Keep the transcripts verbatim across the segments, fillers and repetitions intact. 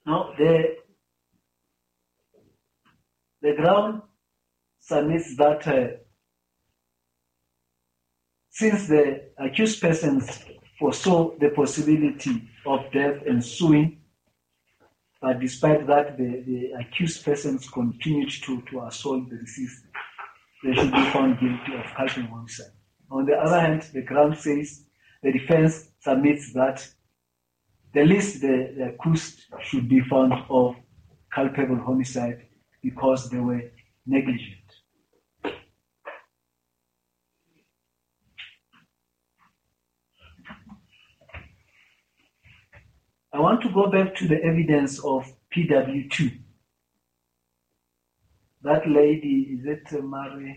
Now, the, the ground submits that uh, since the accused persons foresaw the possibility of death ensuing, but despite that, the, the accused persons continued to, to assault the deceased, they should be found guilty of culpable homicide. On the other hand, the ground says the defense submits that the least the, the accused should be found of culpable homicide because they were negligent. I want to go back to the evidence of P W two. That lady, is it Mary,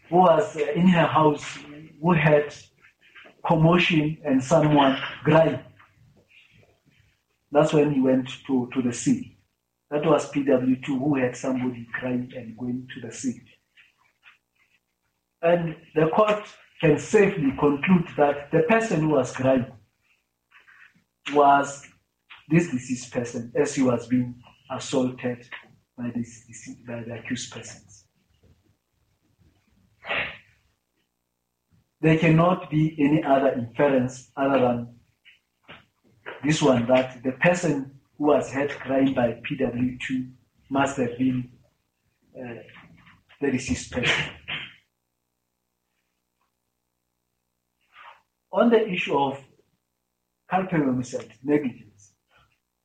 who was in her house, who had commotion and someone crying. That's when he went to, to the sea. That was P W two, who had somebody crying and going to the sea. And the court can safely conclude that the person who was crying was this deceased person as he was being assaulted by, this, by the accused persons. There cannot be any other inference other than this one, that the person who was heard crying by P W two must have been uh, the deceased person. On the issue of culpable homicide, negligence,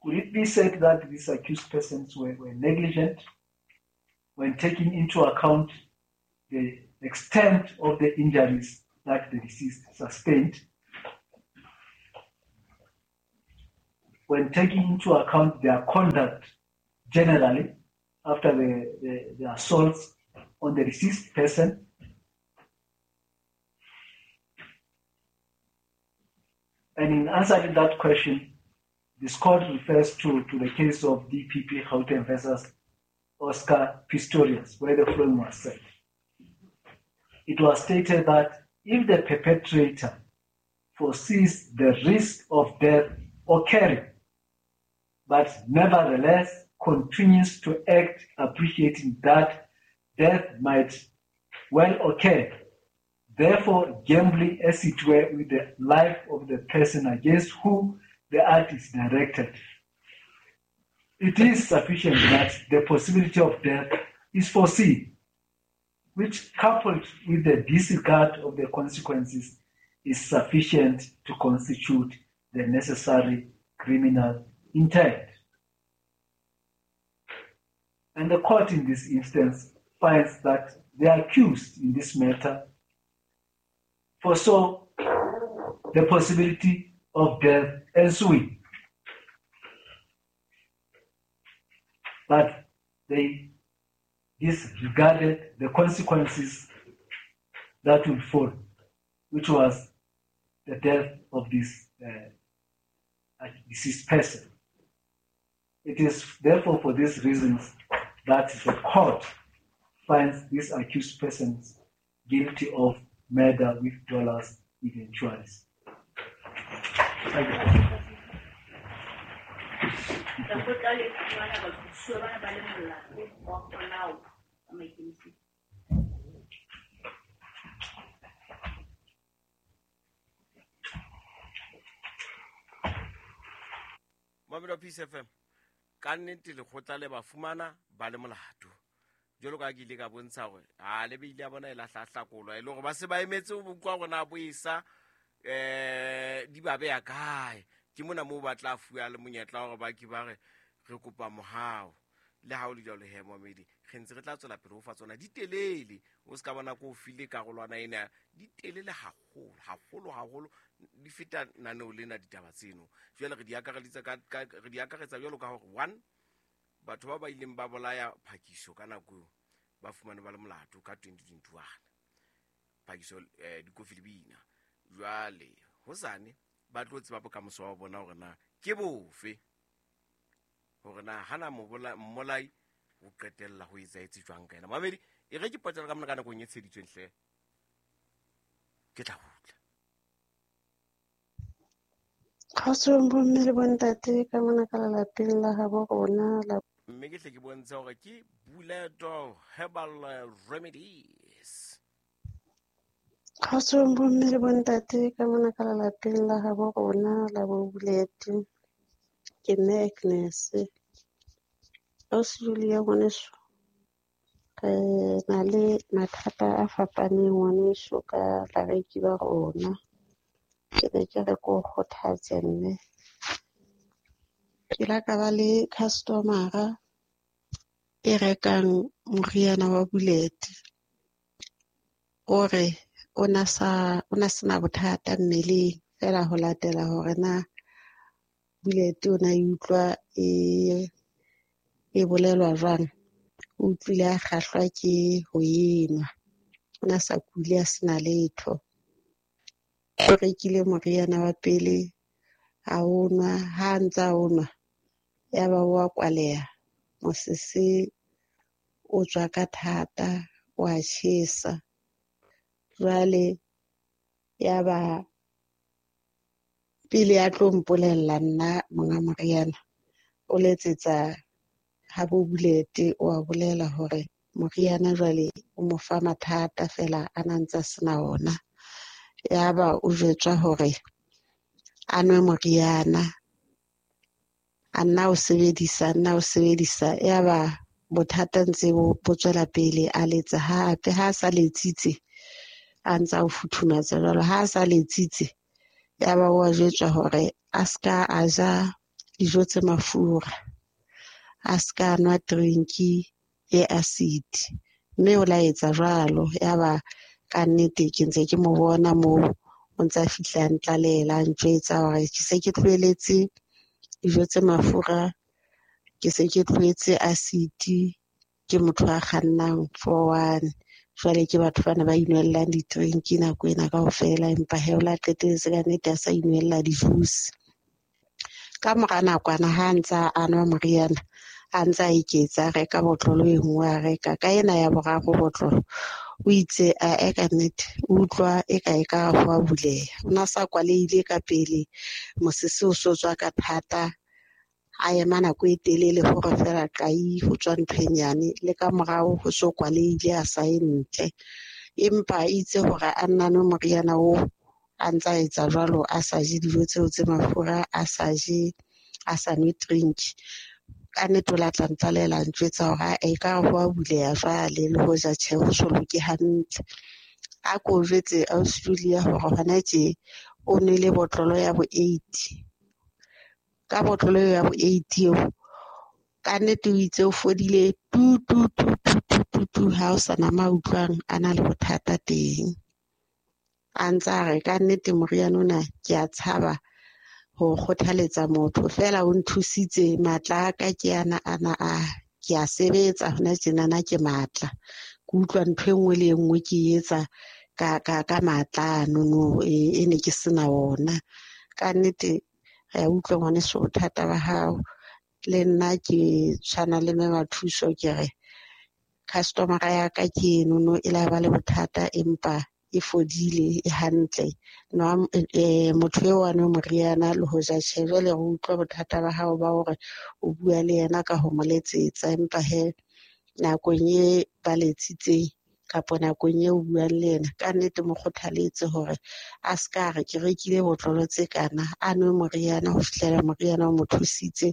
could it be said that these accused persons were, were negligent when taking into account the extent of the injuries that the deceased sustained, when taking into account their conduct generally after the, the, the assaults on the deceased person, And in answering that question, this court refers to, to the case of D P P Gauteng versus Oscar Pistorius, where the following was said. It was stated that if the perpetrator foresees the risk of death occurring, but nevertheless continues to act appreciating that death might well occur, therefore gambling as it were with the life of the person against whom the act is directed, it is sufficient that the possibility of death is foreseen, which coupled with the disregard of the consequences is sufficient to constitute the necessary criminal intent. And the court in this instance finds that the accused in this matter foresaw the possibility of death ensuing, but they disregarded the consequences that would follow, which was the death of this uh, deceased person. It is therefore for these reasons that the court finds these accused persons guilty of murder with dolus eventualis. Thank you. Mamelo Peace F M, ka nnete lekgotla le ba fumana ba le molato. Jwalo ka ke ile ka bontsha hore ha le beile ya bona e lahlahlakolwa e le hore ba se ba emetse ho bukwa rona boisa eh di ba beya kae. Ke mona moo ba tla fuwa le monyetla hore ba ke ba re re kopa mohau. Le ha o le jwalo he momedi, re ntse re tla tswela pele ho fa tsona di telele. O ska bona ko o file karolwana ena di telele haholo haholo haholo, di feta naneo lena ditaba tseno. Jwale re di akareditse ka, ka re di akaretsa jwalo ka hore one, batho ba ba ileng ba bolaya Phakiso ka nako eo ba fumane ba le molato ka twenty twenty-one. Phakiso eh dikofi le bina. Jwale hosane ba tlo tseba bokamoso wa bona hore na ke bofe, hore na hana mmolai o qetella ho etsaetse jwang ka yena. Mamedi, e re ke potela ka mona ka nakong e tsheditsweng hle, ke tla kgutla. Kgotsong bomme le bontate ka mona ka lelapeng la habo rona la Mme ke hle ke bontshe hore ke Buleto Herbal Remedies. Kgotsong bomme le bontate ka mona ka lelapeng la habo rona la bo Bulete. Ke mme Agnes. Ausi Julia ngwaneso, re na le mathata a fapaneng ngwaneso ka bareki ba rona. Ke ne ke re ke o kgothatse mme. Ke la ka ba le customer-a e rekang moriana wa Bulete. O re o na sa, o na sena bothata mmeleng feela ho latela hore na Bulete o na e utlwa e, e bolelwa jwang. O utlwile a kgahlwa ke ho enwa. O na sa kule a sena letho. O rekile moriana wa pele a o nwa, ha a ntse a o nwa yaba o a kwaleha. Mosese o tswa ka thata, o a tjhesa. Jwale yaba pele a tlo mpolella nna monga moriana, o letsetsa habo Bulete, o a bolela hore moriana jwale o mo fa mathata feela a na ntse a sena ona. Yaba o jwetswa hore a nwe moriana, a nna o sebedisa, a nna o sebedisa. Yaba bothata ntse bo, bo tswela pele, a letsa hape. Ha a sa letsitse, a ntse a o futhumatsa jwalo. Ha a sa letsitse, yaba o a jwetswa hore a ska a ja dijo tse mafura, a ska nwa drinki e acid. Mme o la etsa jwalo. Yaba ka nnete ke ntse ke mo bona moo o ntse a fihla a ntlalela, a ntjwetsa hore ke se ke tlohelletse dijo tse mafura, ke se ke tlohetse acid, ke motho a kgannang four one. Jwale ke batho bana ba inwellang di-drink nako ena kaofela, empa he o la qetelletse ka nnete a sa inwella di-juice. Ka mora nakwana ha a ntsa a nwa moriana, a ntsa a eketsa, a reka botlolo e nngwe, a reka ka ena ya boraro botlolo. O itse a e ka nnete, o utlwa e ka e ka ho a buleha. O na sa kwalehile ka pele, mosese o so tswa ka thata, a ema nako e telele hore feela qai ho tswa ntho e nyane, le ka morao ho so kwalehile a sa ye ntle. Empa itse hore a nna nwe moriana oo, a ntsa etsa jwalo, a sa je dijo tseo tse mafura, a sa je, a sa nwe drink. Ka nnete o la tla ntlalela, a ntjwetsa hore a e ka ho a buleha jwale, le hoja tjhe ho so loke hantle. A ko jwetse ausi Julia hore hona tje o nwele botlolo ya bo eight. Ka botlolo eo ya bo eight eo, ka nnete o itse o fodile tu tu tu tu tu tu tu, ha o sa na ma utlwang a na le bothata teng. A ntsa re ka nnete moriana ona ke a tshaba ho kgothaletsa motho, feela o nthusitse matla a ka ke ana ana a, ke a sebetsa hona tjenana ke matla. Ke utlwa ntho e nngwe le e nngwe ke e etsa ka, ka, ka matla ano no, e, e ne ke sena ona. Ka nnete re a utlwa ngwaneso bothata ba hao. Le nna ke tshwana le mme Mathuso, ke re customer-a ya ka ke eno no, e la ba le bothata empa e fodile, e hantle. Nwa, eh, motho eo a nwe moriana le hoja tjhe, jwale re utlwa bothata ba hao ba hore o bua le yena ka ho mo letsetsa, empa he nakong e ba letsitseng kapa nakong eo o buang le yena, ka nnete mo kgothaletse hore a ska re ke rekile botlolo tse kana, a nwe moriana ho fihlela moriana o mo thusitse.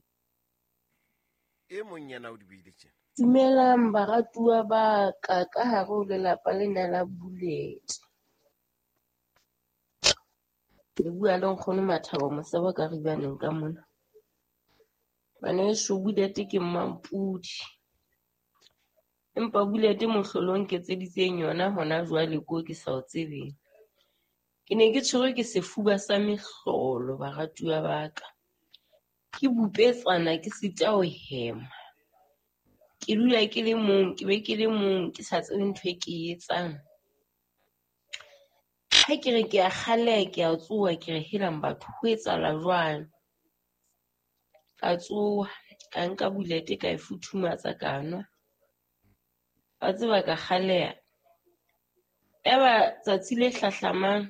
E mong yena o di buile tjena. Dumelang baratuwa ba ka ka hare ho lelapa lena la Bulete. Le bua le nkgono Mathabo Mosebo ka Ribaneng ka mona. Ngwaneso Bulete ke mmampudi. Empa Bulete mohlolo o nketseditseng yona hona jwale ko ke sa o tsebeng. Ke ne ke tshwerwe ke sefuba sa mehlolo baratuwa ba ka. Ke bupetsana ke sita ho hema. Ke dula ke le mong, ke be ke le mong, ke sa tsebe ntho e ke e etsang. Ha ke re ke a kgaleha, ke a tsoha, ke re helang batho, ho etsahala jwang? Ka tsoha, ka nka Bulete ka e futhumatsa ka nwa. Wa tseba ka kgaleha. Yaba tsatsi le hlahlamang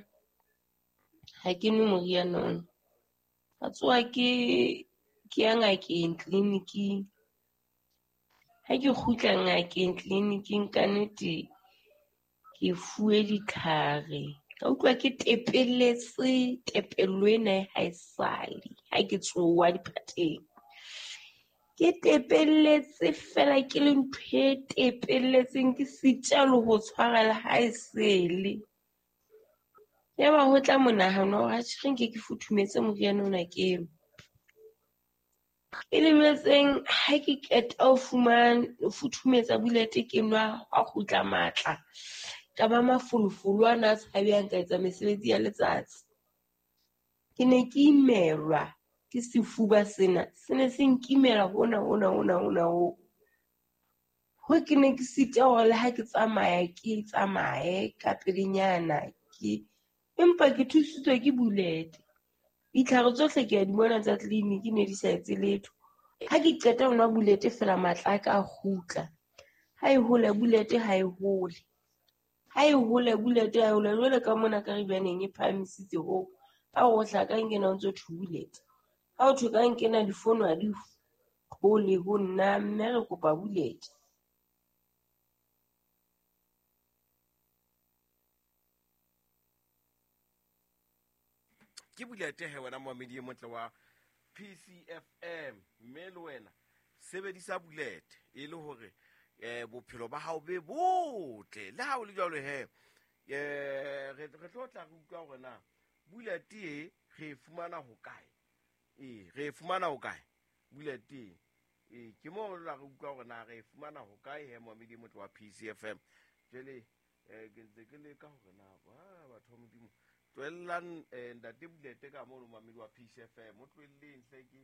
ha ke nwe moriana ona. Ka tsoha ke ke ya ngakeng tleliniking. Ha ke kgutla ngakeng tleliniking ka nnete ke fuwe ditlhare. Ka utlwa ke tepelletse, tepello ena ha e sale ha ke tsoha diphateng. Ke tepelletse fela ke le ntho e tepelletseng ke sita le ho tshwara le ha e sele. Yaba ho tla monahano wa hore atjhe re nke ke futhumetse moriana ona ke nwe. E lebetseng ha ke qeta ho fumana ho futhumetsa bulete ke nwa hwa kgutla matla. Ka ba mafolofolo ana a tshabehang ka etsa mesebetsi ya letsatsi. Ke ne ke imelwa ke sefuba sena, se ne se nkimela hona hona hona hona ho. Ho ke ne ke sita hore le ha ke tsamaya ke tsamaye ka pelenyana ke empa ke thusitswe ke bulete. Ditlhare tsohle ke a di bona tsa tleliniki ne di sa etse letho. Ha ke qeta ho nwa bulete fela matla a ka a kgutla. Ha e hole bulete ha e hole. Ha e hole bulete ha e hole. Jwale ka mona Karibianeng e phahamisitse hoo. Ha o hla ka nkena o ntso thwe bulete. Ha o thwe ka nkena difono ha di hole ho nna, mme re kopa bulete. Ke bulete he wena moamedi e motle wa P C F M, mme le wena sebedisa bulete e le hore eh bophelo ba hao be botle. Le ha o le jwalo he, eh re re tlo tla re utlwa hore na bulete e re e fumana ho kae. Eh re e fumana ho kae bulete e? Ke mo re tla re utlwa hore na re e fumana ho kae he moamedi e motle wa P C F M. Jwale eh ke ntse ke leka hore na ba batho ba Modimo tlohellang eh ntate bulete ka mono moamedi wa P C F M, o tlohelleng hle ke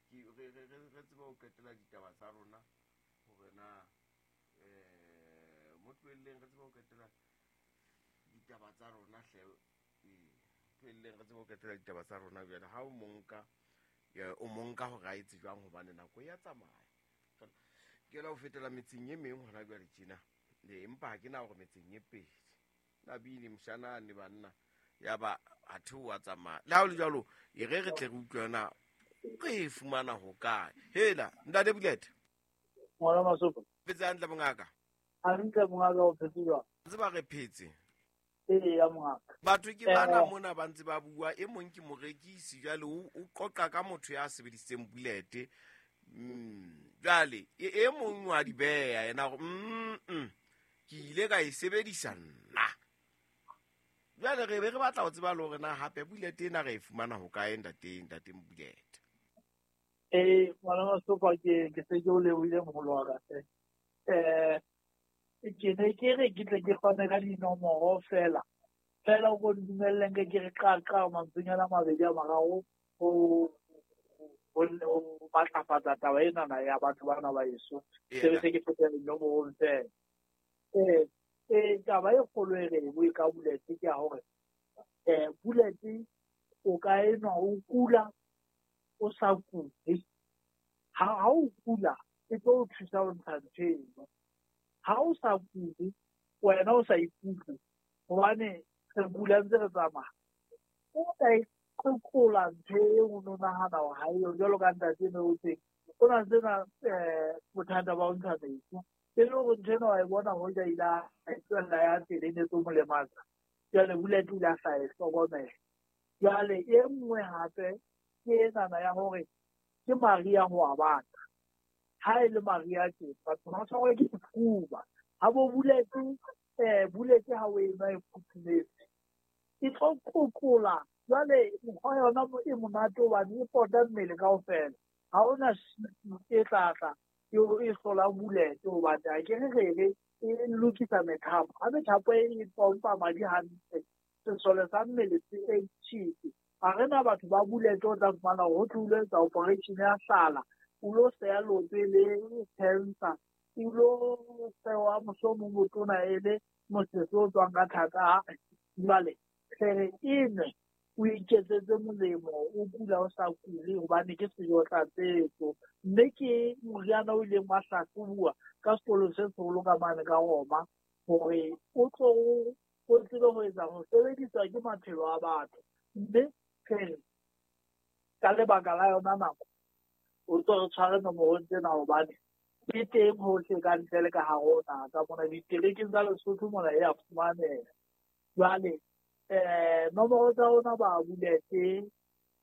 ke re re re tsebe ho qetela ditaba tsa rona hore na eh mo tlohelleng re tsebe ho qetela ditaba tsa rona hle. Eh tlohelleng re tsebe ho qetela ditaba tsa rona jwale. Ha o monka o monka hore a etse jwang hobane nako ya tsamaya. Ke la ho fetela metseng e meng hona jwale tjena. Le empa ha ke na hore metseng e pedi. Na bile mshana ne banna ya ba a theoha tsamaya. Le ha o le jwalo e re re tle re utlwe na re e fumana ho kae. Hela ntate Bulete. Ngwana Masopa. Phetse hantle mongaka. Hantle mongaka, o phetse jwang? Tseba re phetse. Ee ya mongaka. Batho ke bana mona ba ntse ba bua, e mong ke morekisi jwale o qoqa ka motho ya sebedisitseng bulete. Mm jwale e mong wa di beya yena hore mm ke ile ka e sebedisa nna. Jwale re be re batla ho tseba le hore na hape bulete ena re e fumana ho kae ntate ntate Bulete. Eh ngwana Masopa ke ke se ke o lebohile moholo wa ka. Eh ke ne ke re ke tle ke fane ka dinomoro fela. Fela o ko dumelleng ke re qaqa mantswenyana a mabedi a mararo ho ho matlafatsa taba ena na ya batho bana ba eso. Se se ke fetela dinomorong fela. Eh eh taba e kgolo e re bue ka bulete ke ya hore eh bulete o ka enwa o kula o sa kule. Ha ha o kula e tlo o thusa ho ntsha ntho eno. Ha o sa kule wena o sa ikutlwe hobane re kula ntse re tsamaya. O ka iqoqola ntho eo o no nahana hore ha eyo jwalo ka ntate eno o teng. O na ntse na eh bothata ba ho ntsha metsi. E le hore ntho ena wa e bona hoja ile a tswella ya pele e ne tlo mo lematsa. Jwale bulete o ile a sa e hlokomela. Jwale e nngwe hape ke enana ya hore ke mariha ho a bata. Ha e le mariha tje batho ba tshwarwa ke sefuba. Ha bo bulete eh bulete ha o e nwa e futhumetse e tlo qoqola. Jwale mokgwa yona e monate hobane e pota mmele kaofela. Ha hona e tla tla e hlola bulete hobane ha ke re re re e lokisa methapo. Ha methapo e pompa madi hantle, sesole sa mmele se active. Ha re na batho ba bulete o tla fumana hore ho tlo etsa operation ya hlala, o lo seya leoto e le cancer, o lo sewa mohlomong botona e le mosese o tswang ka thata. Jwale re e nwe o iketsetse molemo, o kula o sa kule hobane ke sejo tlatsetso. Mme ke moriana o ileng wa hlahlobuwa ka sekolo se seholo ka mane ka Roma hore o tlo o tsebe ho etsa ho sebediswa ke maphelo a batho. Mme re Ka lebaka la yona nako o tlo re tshware nomorong tsena hobane ke teng hohle ka ntle le ka hare ho naha ka mona diterekeng tsa Lesotho mona e a fumaneha. Jwale eh nomoro tsa rona ba buletse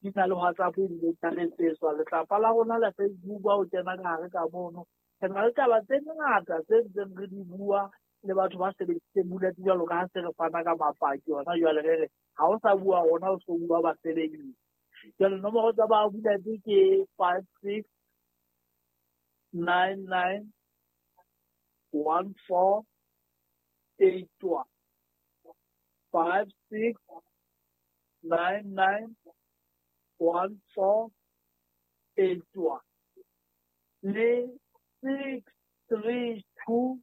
di na le WhatsApp ebile di a letsetswa. Letlapa la rona la Facebook ha o kena ka hare ka mono re na le taba tse ngata tse ntseng re di bua le batho ba sebedisitseng buletse jwalo ka ha se re fana ka mapaki hona jwale re re ha o sa bua rona o so bua basebedisi. Jwale nomoro tsa ba buletse ke five six nine nine one four eight one five six nine nine one four eight one le six three two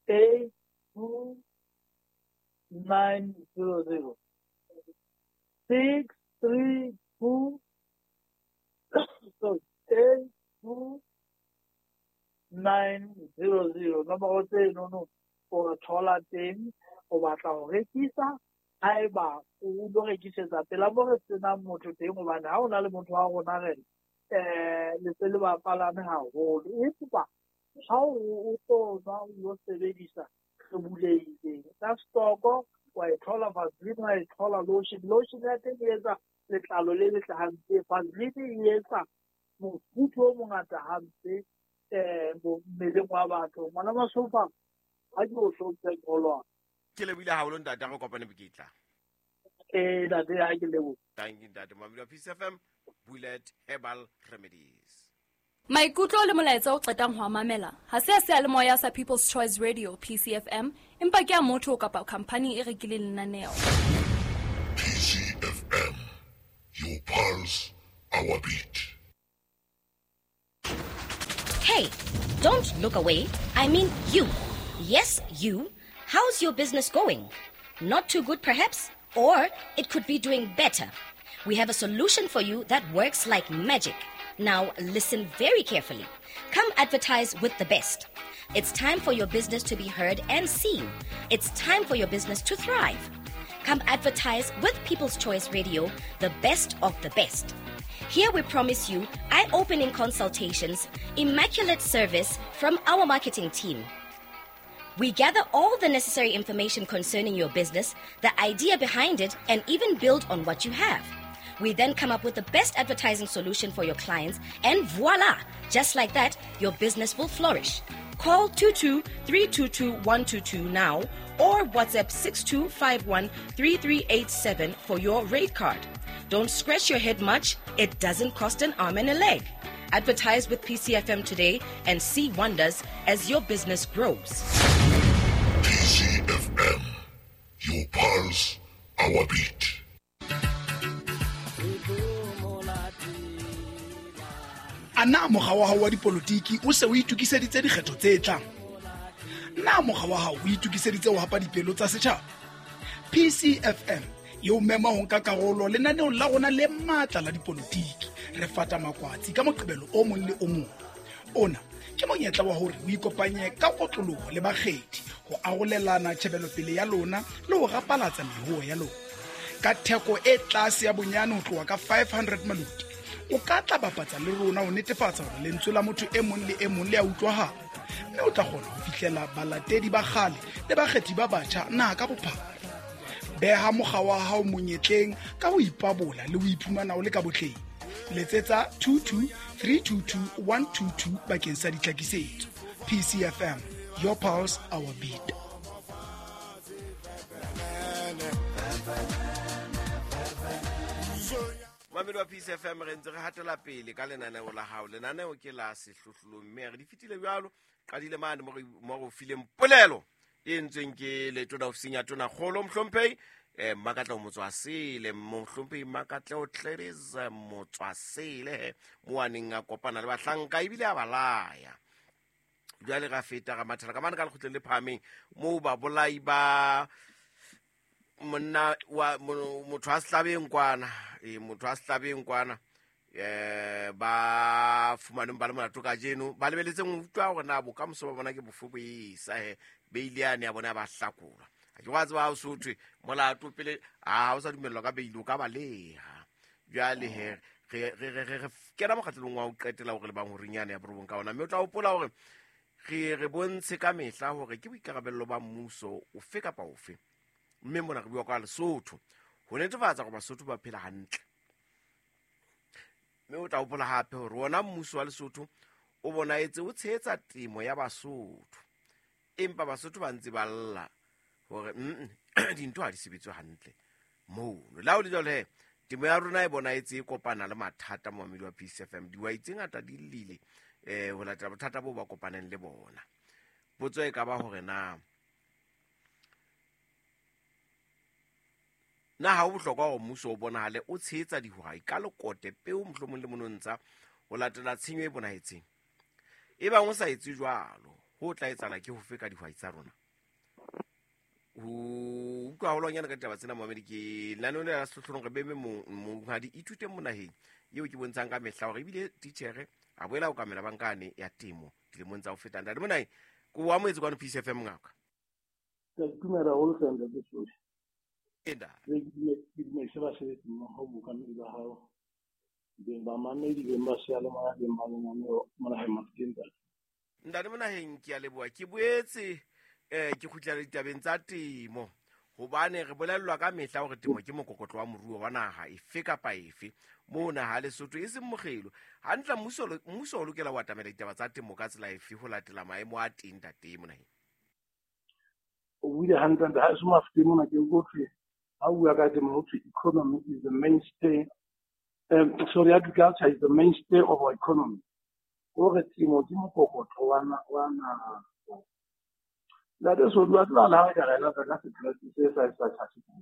eight two nine zero zero six three two sorry eight two nine zero zero. Nomoro tseno o thola teng o batla ho rekisa haeba o lo rekisetsa pela mo re senang motho teng hobane ha o na le motho wa rona re eh le se le bapalame haholo empa ha o tlo nwa o lo sebedisa re bulehile ka stoko wa e thola Vaseline wa e thola lotion. Lotion ya teng e etsa letlalo le letle hampe, Vaseline e etsa mofuthu o mongata hampe eh mmeleng wa batho. Ngwana Masofa ha ke o hlomphe kolwa. Ke lebohile haholo ntate, re kopane boketla. Eh ntate ha ke leboha. Thank you ntate. Mamedi wa Peace F M, Bullet Herbal Remedies. Maikutlo le molaetsa o qetang ho mamela ha se a seyalemoya sa People's Choice Radio P C F M, empa ke a motho kapa company e rekileng lenaneo. P C F M, your pulse, our beat. Hey, don't look away. I mean you. Yes, you. How's your business going? Not too good, perhaps? Or it could be doing better. We have a solution for you that works like magic. Now, listen very carefully. Come advertise with the best. It's time for your business to be heard and seen. It's time for your business to thrive. Come advertise with People's Choice Radio, the best of the best. Here we promise you eye-opening consultations, immaculate service from our marketing team. We gather all the necessary information concerning your business, the idea behind it, and even build on what you have. We then come up with the best advertising solution for your clients, and voila! Just like that, your business will flourish. Call two two three two two one two two now or WhatsApp six two five one three three eight seven for your rate card. Don't scratch your head much. It doesn't cost an arm and a leg. Advertise with P C F M today and see wonders as your business grows. P C F M, your pulse, our beat. A na mokga wa hao wa dipolotiki o se o itokiseditse dikgetho tse tlang? Na mokga wa hao o itokiseditse ho hapa dipelo tsa setjhaba? P C F M e o mema ho nka karolo lenaneong la rona le matla la dipolotiki. Re fata makwatsi ka Moqebelo o mong le o mong. Ona ke monyetla wa hore o ikopanye ka kotloloho le bakgethi ho arolelana tjhebelopele ya lona le ho rapalatsa mehoho ya lona. Ka theko e tlase ya bonyane ho tloha ka five hundred maloti, o ka tla bapatsa le rona ho netefatsa hore lentswe la motho e mong le e mong le a utlwahala, mme o tla kgona ho fihlela balatedi ba kgale le bakgethi ba batjha naha ka bophara. Beha mokga wa hao monyetleng ka ho ipabola le ho iphumana o le ka botleng. Letsetsa two two three two two one two two bakeng sa ditlhakisetso. P C F M, your pulse, our beat. Mamedi wa P C F M, re ntse re hatela pele ka lenaneo la hao. Lenaneo ke la sehlohlolong, mme re di fetile jwalo. Qadile mane mo re fileng polelo e entsweng ke letona ofising ya Tonakgolo Mohlomphehi eh Mmakatleho Motswasele. Mohlomphehi Mmakatleho Gladys Motswasele mo a neng a kopana le bahlanka ebile a ba laya. Jwale ra feta ra mathela ka mane ka lekgotleng le phahameng moo babolai ba monna wa motho a sehlabeng kwana, e motho a sehlabeng kwana eh ba fumaneng ba le molato kajeno, ba lebeletseng ho utlwa hore na bokamoso ba bona ke bofe bo esa he beile yane ya bona ba hlakolwa. Ha ke wa tseba ha o so thwe molato pele ha o sa dumellwa ka beile o ka baleha. Jwale he re re re re kena mokgatlong wa ho qetela hore le bang ho rinyane ya borobong ka ona. Mme o tla hopola hore re re bontshe ka mehla hore ke boikarabello ba mmuso ofe kapa ofe. Mme mona re bua ka Lesotho ho netefatsa hore Basotho ba phela hantle. Mme o tla hopola hape hore ona mmuso wa Lesotho o bonaetse o tshehetsa temo ya Basotho. Empa Basotho ba ntse ba lla hore mm dintho ha di sebetswe hantle mono. La ho le jwalo he, temo ya rona e bonaetse e kopana le mathata momamedi wa P C F M. Dihwai tse ngata di llile eh ho latela bothata bo ba kopaneng le bona. Potso e ka ba hore na na ha ho bohlokwa hore mmuso o bonahale o tshehetsa dihwai ka lekote peo mohlomong le monontsha ho latela tshenyo e bonahetseng. E bang o sa etse jwalo, ho tla etsahala ke hofe ka dihwai tsa rona? Ho utlwa haholwanyane ka ditaba tsena momamedi ke lenaneo lena la Sehlohlolong re beme monghadi Ithuteng Monaheng eo ke bontshang ka mehla hore ebile titjhere a boela ho kamela bankane ya temo dilemong tsa ho feta. Ntate Monaheng, ko o amohetse kwano P C F M ngaka. Ke a itumela haholo hle ntate Soli. Eda. Ke dumedise basebetsi mmoho bookamedi ba hao, beng ba mamedi, beng ba seyalemoya, beng ba lenaneo Monaheng Mafokeng ntate. Ntate Monaheng, ke a leboha. Ke boetse eh ke kgutlela ditabeng tsa temo hobane re bolellwa ka mehla hore temo ke mokokotlo wa moruo wa naha efe kapa efe. Moo naha Lesotho e seng mokgelo. Hantle mmuso mmuso o lokela ho atamela ditaba tsa temo ka tsela efe ho latela maemo a teng ntate Monaheng? O buile hantle ntate. Ha e se Mafokeng mona ke utlwe ha o bua ka temo ho thwe economy is the mainstay, um, sorry, agriculture is the mainstay of our economy. Hore temo ke mokokotlo wa wa naha. Ntate Soli, wa tseba le ha re ka re lata ka sekreste se sa sa tjhatjhe.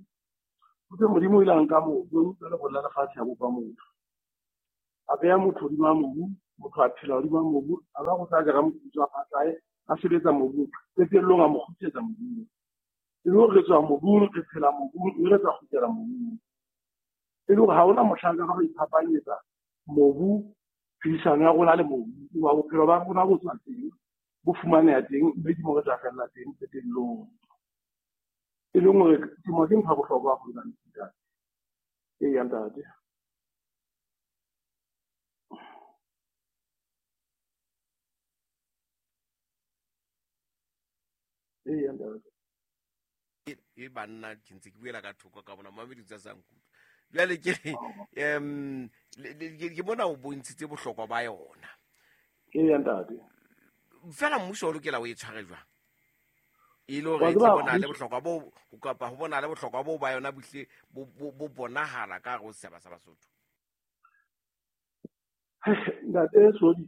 Ho thwe Modimo o ile a nka mobu, jwale go lla lefatshe a bopa motho. A beha motho hodima mobu, motho a phela hodima mobu, a ba go tla jara moputso wa phatlae, a sebetsa mobung, qetellong a mo kgutlisetsa mobung. E le hore re tswa mobung, re phela mobung, mme re tla kgutlela mobung. E le hore ha hona mohlanka ka ho iphapanyetsa mobu, phedisano ya rona le mobu, hoba bophelo ba rona bo tswa teng, bo fumaneha teng, mme ke mo re tla fella teng qetellong. E leng hore temo ke ntho ya bohlokwa haholo ka ntate. Eya ntate. Eya ntate. E banna ke ntse ke buela ka thoko ka bona mamedi tsa sa nkutlwa. Jwale ke em ke bona o bontshitse bohlokwa ba yona. Eya ntate. Fela mmuso o lokela o e tshware jwang? E le hore e tle bonahale bohlokwa bo kapa ho bonahale bohlokwa bo ba yona bohle bo bo bonahala ka hare ho setjhaba sa Basotho. Ntate Soli,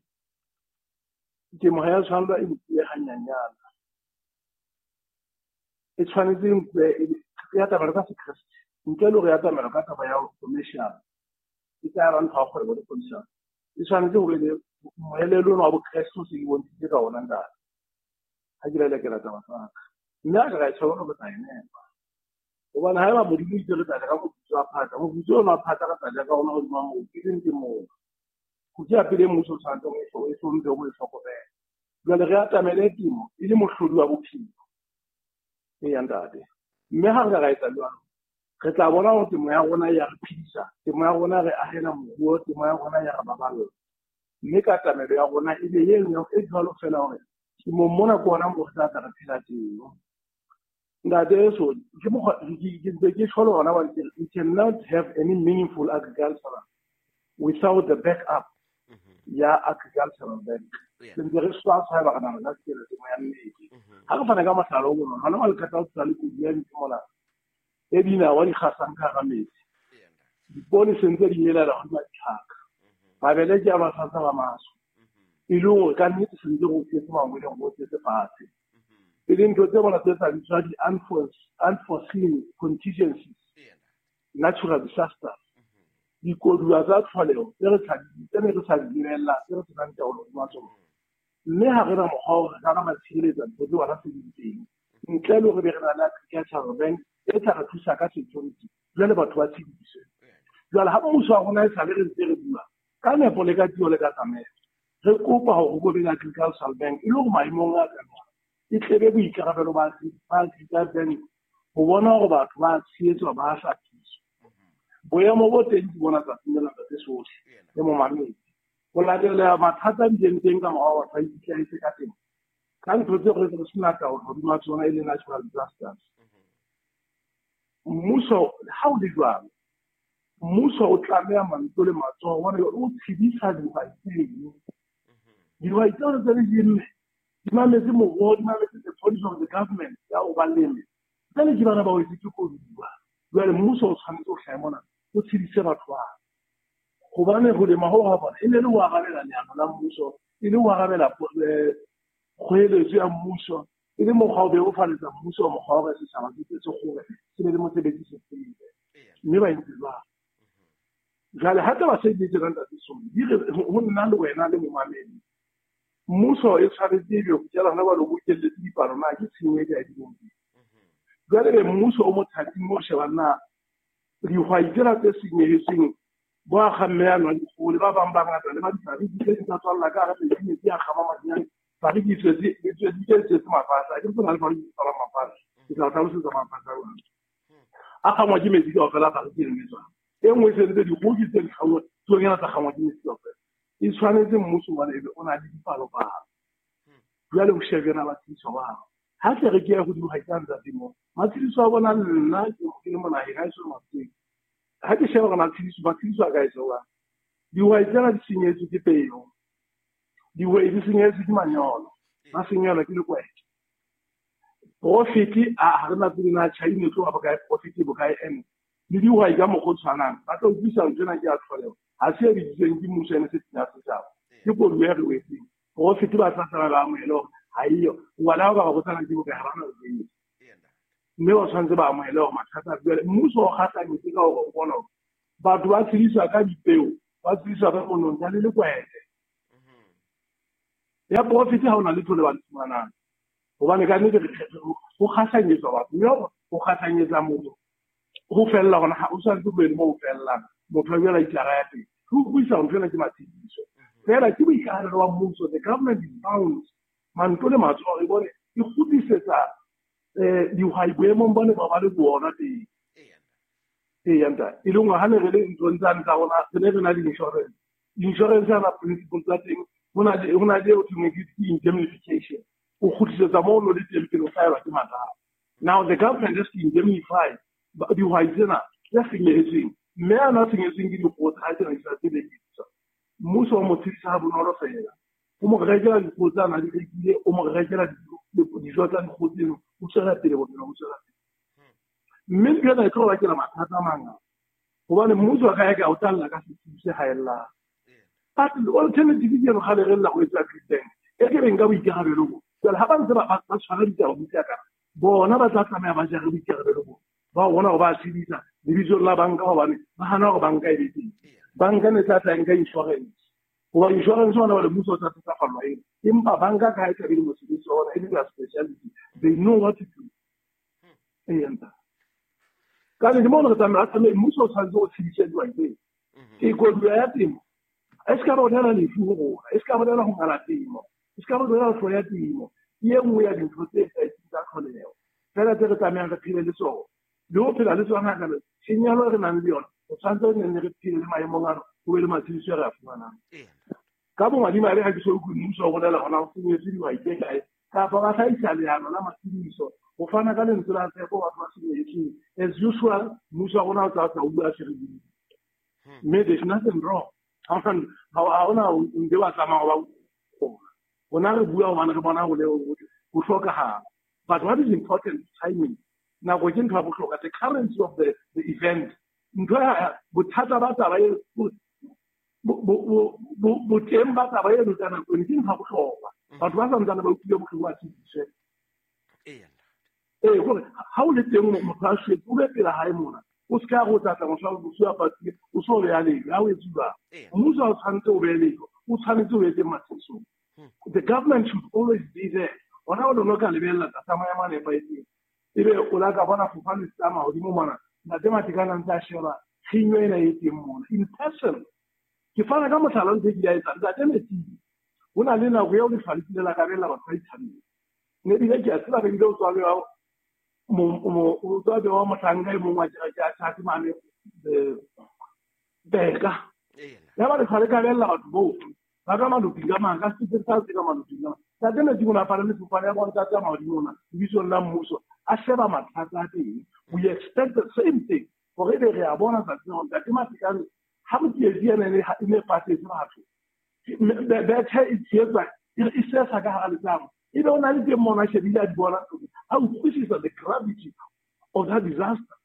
temo ha ya tshwanela e nkuwe hanyanyana. E tshwanetse e nkuwe e atamela ka sekreste. Ntle le hore e atamela ka taba ya commercial, e tla ba ntho ya kgwebo le commercial. E tshwanetse hore le moelelo ona wa bokreste o se ke bontshitse ka ona ntate. Ha ke lelekela taba tsa ka. Mme ha ke ra e tshwanela re tla e nepa. Hobane haeba Modimo o itse re tla ja ka moputso wa phata, moputso ona wa phata re tla ja ka ona hodima moo, ke leng temong. Ho ke ya pele mmuso o tshwanetse o e hlomphe, o e hlokomele. Jwale re atamele temo e le mohlodi wa bophelo. Eya ntate. Mme ha re ka ra etsa jwalo, re tla bona hore temo ya rona ya re phedisa, temo ya rona re ahela moruo, temo ya rona ya re baballa. Mme ka katamelo ya rona e be e jwalo fela hore temong mona ke hona moo re tla tla re phela teng. Ntate Soli, ke mokgwa ke ntse ke tjho le hona hobane ke re we cannot have any meaningful agriculture without the backup ya agricultural bank. Re ntse re swaswa haeba re nahana ka tsela temo ya nnete. Ha re fana ka mohlala o bonolo, hona jwale qeta ho tshela le kodu ya ntho mona e dinawa di kgasang ka hara metsi. Dipoone se ntse di melela hodima ditlhaka. Mabele ke a basasa ba maso. E le hore ka nnete se ntse re o tletse mangweleng, re o tletse fatshe. E leng ntho tse bona tse tsa bitswa di-unforeseen contingencies, natural disasters, dikoduwa tsa tlholeho tse re tse ne re sa di lebella, tse re senang taolo hodima tsona. Mme ha re na mokgwa wa hore re ka ra tshireletsa ntho tseo hona se di teng. Ntle le hore be re na le agricultural bank e tla re thusa ka security, jwale batho ba tshediswe. Jwale ha mmuso wa rona e sale re ntse re bua ka nepo le ka tio le ka tsamaiso, re kopa hore ho be le agricultural bank e le hore maemong a ka e tlebe boikarabelo ba agricultural bank ho bona hore batho ba tshehetswa, ba hlaphiswa. Boemo bo teng ke bona tsatsing lena ntate Sohle le momamedi. Ho latela mathata a bileng teng ka morao batho ba ikitlahetse ka teng. Ka ntho tseo re re sena taolo hodima tsona e le natural disasters. Mmuso ha o le jwalo, mmuso o tlameha mantswe le matsoho hobane o tshedisa dihwai tseno. Dihwai tseo tse di jenne di mametse moruo, di mametse the policy of the government ya ho ba leme. Jwale ke bana ba wetse ke koduwa. Jwale mmuso o tshwanetse ho hlahe mona o tshedise batho bana. Hobane ho lema ho ha bona e ne le ho arabela leano la mmuso, e le ho arabela kgoeletso ya mmuso, e le mokgwa o bebofaletsa mmuso mokgwa wa hore setjhaba se se kgore se be le mosebetsi se tsebe. Mme ba entse jwalo. Jwale ha taba se di tsena ntate Soli, di re ho nna le wena le momamedi. Mmuso e tshwanetse ebe ho tjela hona jwale o bokelletse dipalo na ke tshenyo e kae dilong. Jwale be mmuso o mothating o sheba na dihwai tsena tse senyehetseng bo akga mme a nwa dikgoho le ba bang ba ngata le ba difariki tse di tsa tswalla ka hara metsi, metsi a kgama madinyane. Fariki e tswetse e tswetse mafatshe. Ha ke tsena le fariki e tswala mafatshe. Ke tla o hlalosetsa mafatshe a jwang. A kgangwa ke metsi kaofela fariki e lemetswang. E nngwe e sentse dikgoho ke tse dikgangwa, tsonyana tsa kgangwa ke metsi kaofela. E tshwanetse mmuso hobane ebe o na le dipalopalo. Jwale o shebe na batshediso bao. Ha tle re ke ya hodimo ha ke a ntate moo. Matshediso a bona nna ke le monaheng ha e so matseng. Ha ke sheba hore matshediso, matshediso a ka etsa jwang. Dihwai tsena di senyetswe ke peo. Dihwai di senyetswe ke manyolo. Ba senyelwa ke lekwete. Profit a ha re na tsebe na China e tloha bokae, profit e bokae ene. Le dihwai ka mokgwa o tshwanang. Ba tla utlwisa ntho ena ke ya tlholeho. Ha se e biditsweng ke mmuso ene se ya setjhaba. Ke koduwa e re wetseng. Profit ba tla tsamaya ba amohele hore ha eyo. Ngwana wa ba botsana ke bokae ha ba na tsebe. Mme ba tshwanetse ba amohele hore mathata a jwale mmuso o kgahlanyetse ka hore o bona hore batho ba tshediswa ka dipeo, ba tshediswa ka monontsha le lekwete. Ya profit ha ona letho le ba le fumanang. Hobane ka nnete ho kgahlanyetswa batho, mme ho kgahlanyetsa motho ho fella hona ha o tshwanetse ho be le moo ho fellang. Motho a boela itjara ya teng. Ho utlwisa ntho ena ke matshediso. Feela ke boikarabelo ba mmuso, the government is bound manto le matsoho e bone e kgutlisetsa eh dihwai boemong bone ba ba le bona teng. Eya ntate. E leng hore ha ne re le nthong tsane tsa rona, re ne re na le insurance. Insurance ya na principle tsa teng, ho na le ho na le ho thweng ke indemnification. O kgutlisetsa moo o le teng pele o hlahelwa ke mathata. Now the government has to indemnify dihwai tsena tse senyehetseng. Mme a na senyehetseng ke dikgoho tsa hae tsena di sa tsebe ke. Mmuso o mo tshedisa ha bonolo feela. O mo rekela dikgoho tsa na di rekile, o mo rekela dijo tsa dikgoho tseno, o tswela pele bophelo bo tswela pele. Mme ntho ena e tlo bakela mathata a mangata. Hobane mmuso a ka ya ka o talla ka setsi se haellang. But alternative ke eno kgale re lla ho etsa treatment. E ke beng ka boikarabelo bo. Jwale ha ba ntse ba ba tshwara ditaba buka ka bona ba tla tlameha ba jare boikarabelo bo. Ba bona hore ba tshedisa lebitsong la banka hobane ba hana hore banka e be teng. Banka ne tla tla nka insurance. Hoba insurance hona jwale mmuso o tla thatafallwa eng. Empa banka ka ha e tla be le mosebetsi wa bona e le their speciality. They know what to do. Eya ntate. Ka nnete moo re tlameha tlameha mmuso o tshwanetse ho tshedisa dihwai tsena. Ke koduwa ya temo. E se ka bolela lefu ho rona, e se ka bolela ho ngala temo, e se ka bolela ho hloya temo. Ke e nngwe ya dintho tse etsahetseng tsa tlholeho. Feela tse re tlamehang re phele le tsona. Le ho phela le tsona ka tshenyehelo e re nang le yona, o tshwanetse re nne re phele le maemong ano, ho be le matshediso a re a fumanang. Ka bomadimabe ha ke so utlwe mmuso o bolela hona ho senyetswe dihwai tse kae, kapa ba hlahisa leano la matshediso ho fana ka lentswe la tshepo batho ba senyehetsweng. As usual, mmuso wa rona o tla tla o bua se re Mme there's nothing wrong. Ha hona nde wa tsamaya wa rona re bua hobane re bona ho le ho hlokahala. But what is important is timing. Nako ke ntho ya bohlokwa, the currency of the, the event. Ntho ya bothata ba taba e boteng ba taba eno ka nako eno ke ntho ya bohlokwa. Batho ba santsane ba utlwile bohloko ba tshediswe. Ee, gore ha o le teng motho a shwetse, o be pela hae mona. O se ka go tlatla motho a bosiu a patile, o so beya lejwe, ha o etse jwang. Mmuso ha o tshwanetse o behe lejwe, o tshwanetse o etse matshedisong. The government should always be there. Hona o no ka lebella tlasa maemo a nepahetseng. Ebe o la ka bona fofane se tsamaya hodimo mona, ntate Matekane a ntse a sheba tshenyo ena e teng mona. In person, ke fana ka mohlala ntho e ke ya etsang, ntate Metsi, ho na le nako eo lefa le kile la kabella batho ba ithabile. Ne ebile ke a tseba re bile o tswa bewa mo o tswa bewa mohlanka e mong wa kereke ya Church mane Beka ya ba re tshware ka bella batho bohle ba ka maloping ka mang ka se sa se ka maloping ka ntate Metsing o ne a palame sefofane ya bona tsa mahodimo ona lebitsong la mmuso a sheba mathata a teng. We expect the same thing gore ebe re a bona tsatsing hore ntate Matekane ha motsietsi ena e ne patetse batho bethe e tsheetsa e sesa ka hara letamo ebe o na le teng mona a shebile a di bona a utlwisisa the gravity of that disaster.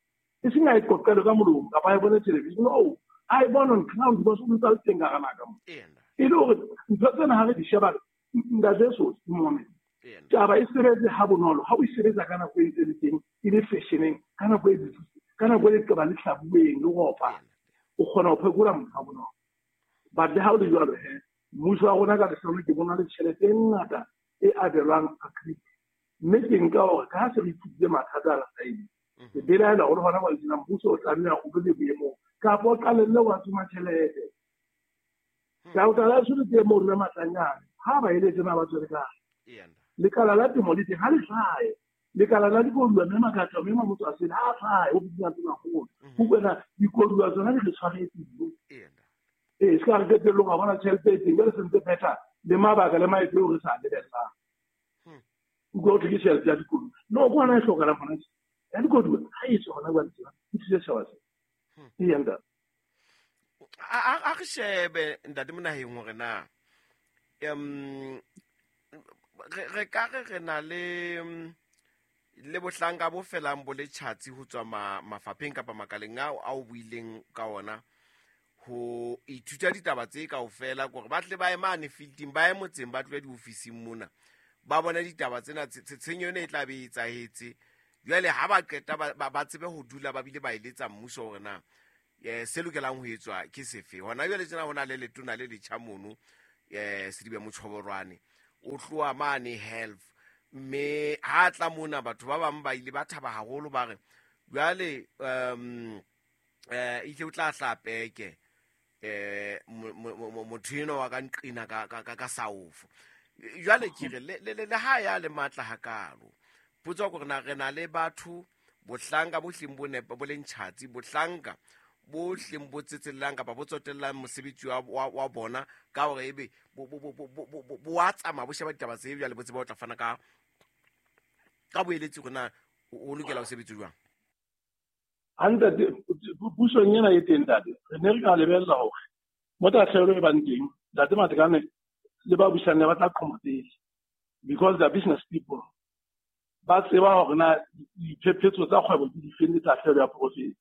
E seng a e qoqele ka molomo kapa a e bone television, no, a e bone on ground because o ntse a le teng ka hara naha mo. E le hore ntho tsena ha re di sheba ntate Sosi moment taba e sebetse ha bonolo ha o e sebetsa ka nako e ntse le teng e le fashioneng ka nako e ka nako e leqeba le hlabuweng le ropa o kgona ho phekola motho ha bonolo. But le ha o le jwalo he mmuso wa rona ka lehlano ke bona le tjhelete e ngata e abelwang agri mme ke nka hore ka ha se re ithutile mathata a rasaene ke belaela hore hona jwale tjena mmuso o tlameha o be le boemong kapa o qalelle wa tsoma tjhelete. Ka o tla le teng moo mme Matlanyane ha ba eletse na ba tswele kae lekala la temo le teng ha le hlahe lekala la dikoduwa mme Makatla mme Mamotso a sele ha hlahe o bitsang tsena haholo ho kwena dikoduwa tsona di re tshwaretse ee se ka re qetellong a bona tjhelete e teng jwale se ntse phetha le mabaka le maeto eo re sa lebellang utlwa ho thwe ke tjhelete ya dikoduwa no ke hona e hlokahalang hona tje ya dikoduwa ha e tswe hona jwale tjena e thuse setjhaba se eya ntate. A re shebe ntate Monaheng hore na um re ka re re na le le bohlanka bo felang bo le tjhatsi ho tswa mafapheng kapa makaleng ao a o buileng ka ona ho ithuta ditaba tse kaofela kore ba tle ba ye mane fielding ba ye motseng ba tlohe diofising mona ba bone ditaba tsena tshenyo ena e tla be e etsahetse jwale ha ba qeta ba tsebe ho dula ba bile ba eletsa mmuso hore na eh se lokelang ho etswa ke sefe. Hona jwale tjena hona le letona le letjha mono eh Sedibe Mochoborwane o tloha mane health mme ha tla mona batho ba bang ba ile ba thaba haholo ba re jwale um eh ile o tla hla peke eh motho eno wa ka nqina ka ka ka saofo jwale ke re le le ha ya le matla hakalo potso gore na re na le batho bohlanka bo hleng bo nepa bo leng tjhatsi bohlanka bo hleng bo tsetsellang kapa bo tsotellang mosebetsi wa wa bona ka hore ebe bo bo bo bo bo wa tsamaya bo sheba ditaba tse jwale bo tseba o tla fana ka ka boeletsi gore na o lokela ho sebetsa jwang. Ntate pusong ena e teng ntate re ne re ka lebella hore mo tahlehelo e bang teng ntate Matekane le ba busang ne ba tla qhoma pele because they are business people ba tseba hore na diphephetso tsa kgwebo ke difeng le tahlehelo ya profit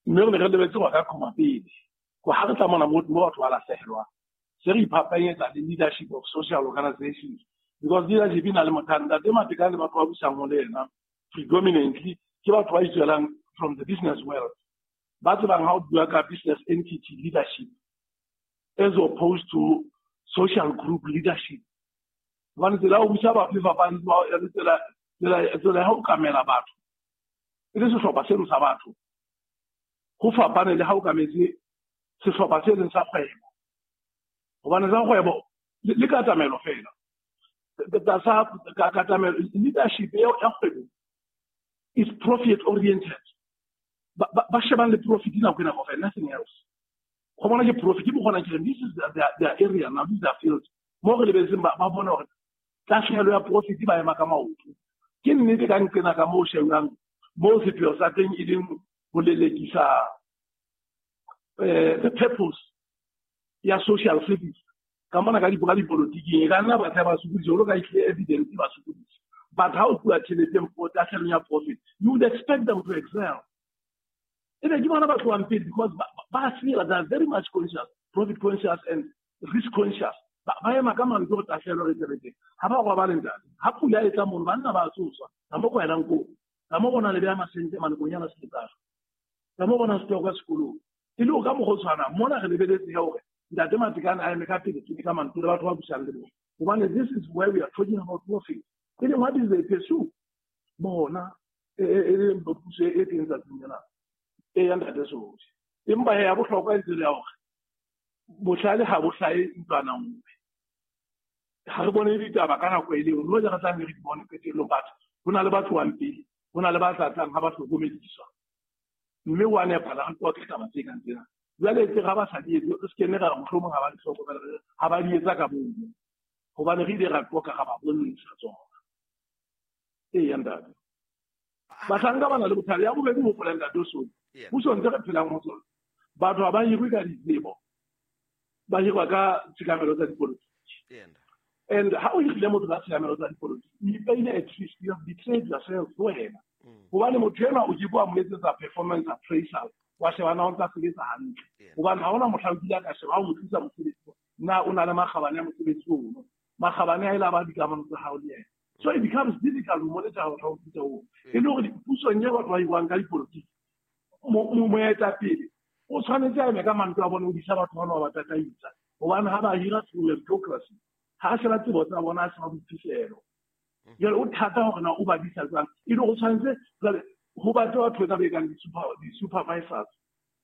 mme re ne re lebetse hore ka qhoma pele ko ha re tla mona mo batho ba lahlehelwang se re iphapanyetsa le leadership of social organizations because leadership e na le motho ntate Matekane le batho ba busang ho le yena predominantly ke batho ba itswelang from the business world ba tsebang ha o bua ka business entity leadership as opposed to social group leadership. Hobane tsela ya ho busa batho e fapane le tsela tsela tsela ya ho okamela batho e le sehlopha seno sa batho ho fapane le ha o okametse sehlopha se leng sa kgwebo hobane sa kgwebo le katamelo fela tlasa katamelo leadership ya kgwebo is profit oriented ba shebang le profit nako ena kaofela nothing else go bona ke profit ke bona ke this is their, their area now this is their field mo re lebetseng ba bona hore tahlehelo ya profit ba ema ka maoto ke nnete ka nqena ka moo shebang mo sepheo sa teng e leng ho lelekisa eh the purpose ya social service ka mona ka dibuka dipolotiking e ka nna batho ba sokodisa jwalo ka ehlile evidence ba sokodisa but ha o tloha tjheleteng for tahlehelo ya profit you would expect them to excel ebe ke bona ba tlohang pele because ba tseba they are very much conscious profit conscious and risk conscious ba ema ka mantswe go tahlehelo re tsebetseng ha ba robale ntate ha pula e tla mono banna ba tsoswa ka mo kwaelang koo ka mo bona le beya masente malekonyana seletsana ka mo bona setoko sekolong e le o ka mokgwa o tshwanang mona re lebeletse ya hore ntate Matekane a eme ka pele ke ka mantswe le batho ba busang le bona hobane this is where we are talking about profit e leng what is they pursue bona e leng puso e teng tsatsing lena e ya ntate Sosi empa ya bohlokwa e tsela ya hore bohlale ha bo hlahe ntlwana nngwe ha re bone ditaba ka nako e le nngwe le re tlang re di bone qetellong batho ho na le ba tlohang pele ho na le ba tla tlang ha ba hlokomediswa Mme wa nepa la go ke taba tse kang tsena. Jwale tse ga ba sa di etse, re se kene ra re mohlomong ha ba di hlokomela, ha ba di etsa ka bomo. Hobane re ile ra qoqa ga ba bontsha tsona. Ee, ntate. Bahlanka ba na le bothata. Ya bobedi ho hopola ntate o sone. Puso ntse re phelang ho tsona. Batho ha ba hirwe ka ditsebo. Ba hirwa ka tshikamelo tsa dipolotiki. And ha o hirile motho ka tshikamelo tsa dipolotiki, you pay at least you have betrayed yourself to wena. Hobane motho enwa o ke bua mo etsetsa performance appraisal, wa sheba na o ntsa sebetsa hantle. Hobane ha hona mohla o kile ka sheba ha o mo tlisa mosebetsi, na o na le makgabane a mosebetsi ono. Makgabane a ile a ba dikamano tsa hao le yena. So it becomes difficult to monitor how to do it. E le hore pusong e batho ba hirwang ka dipolotiki, moetapele o tshwanetse a eme ka mantswe a bona o disa batho bana ba ba tataisa. Hobane ha ba hira through meritocracy, ha sheba tsebo tsa bona, ha sheba boiphihlelo. Jwale o thata hore na o ba disa jwang. E le hore o tshwanetse jwale ho batle batho ba bekang di-supervisors,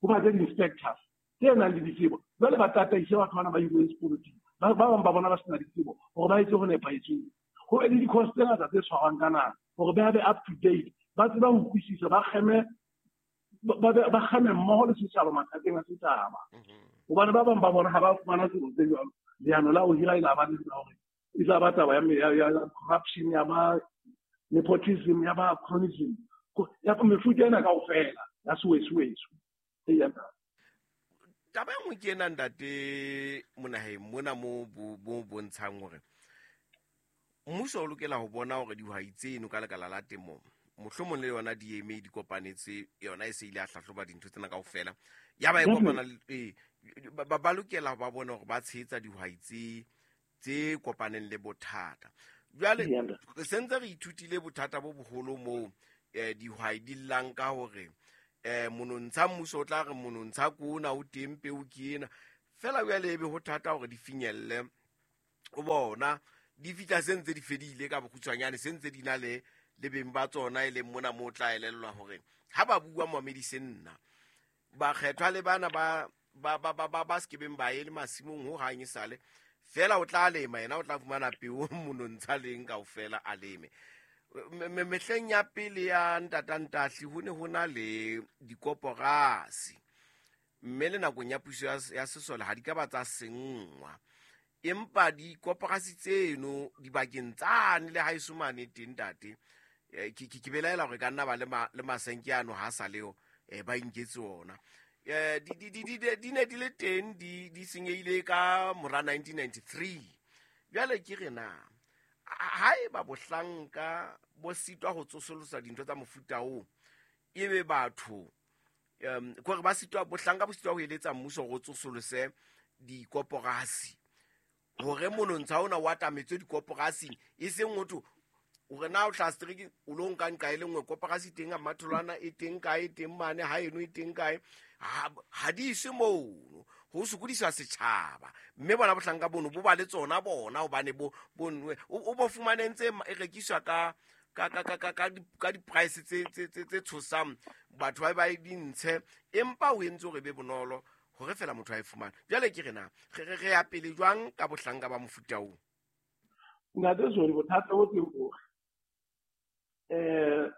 ho batle di-inspectors tse nang le ditsebo. Jwale ba tataise batho bana ba hirweng sepolotiki. Ba bang ba bona ba sena ditsebo hore ba etse ho nepahetseng. Ho be le di-course tse ngata tse tshwarwang ka nako hore ba be up to date, ba tseba ho utlwisisa, ba kgeme ba kgeme mmoho le setjhaba mathateng a setjhaba. Hobane ba bang ba bona ha ba fumana tsebo tse jwalo, leano la ho hira e la ba le la hore e tla ba taba ya corruption, ya ba nepotism, ya ba cronyism, ya mefuta ena kaofela ya sewesuwesu. Taba e nngwe ke ena ntate Monaheng mona mo bo bontshang hore mmuso o lokela ho bona hore dihwai tseno ka lekala la temo mohlomong le yona di eme di kopanetse, yona e se ile a hlahloba dintho tsena kaofela. Ya ba e kopana le ba lokela ba bona hore ba tshehetsa dihwai tse tse kopaneng le bothata. Jwale re sentse re ithutile bothata bo boholo moo dihwai di llang ka hore eh monontsha mmuso o tla re monontsha kona o teng peo ke ena. Fela jwale ebe ho thata hore di finyelle o bona di fihla se ntse di fedile ka bokgutshwanyane, se ntse di na le le beng ba tsona e leng mona mo tla elellwa hore ha ba bua moamedise nna bakgethwa le bana ba ba ba ba ba sekebeng ba ye le masimong ho hang e sale fela o tla lema yena o tla fumana peo monontsha leng kaofela a leme. Mehleng ya pele ya ntatantahli ho ne ho na le dikoporasi, mme le nakong ya puso ya sesole ha di ka ba tsa senngwa, empa dikoporasi tseno dibakeng tsane le haeso mane teng ntate ke ke belaela hore ka nna ba le masenke ano ha sa leo ba inketse ona. Di di di di ne di le teng di di senyehile ka mora nineteen ninety-three. Jwale ke re na haeba bohlanka bo sitwa ho tsosolosa dintho tsa mofuta oo, ebe batho um kore ba sitwa bohlanka bo sitwa ho eletsa mmuso hore o tsosolose dikoporasi hore monontsha ona o atametswe dikoporasing, e seng motho hore na o tla strike o lo nka nqa e le nngwe koporasi teng a matholwana e teng kae, e teng mane ha eno e teng kae, ha di iswe mono ho sokodiswa setjhaba. Mme bona bohlanka bono bo ba le tsona bona hobane bo bonwe o bo fumane ntse e rekiswa ka ka ka ka ka ka di-price tse tse tse tshosang batho ba ba di ntshe, empa o entse hore be bonolo hore fela motho a e fumane. Jwale ke re na re re ya pele jwang ka bohlanka ba mofuta oo? Ntate Zoli, bothata bo teng hore eh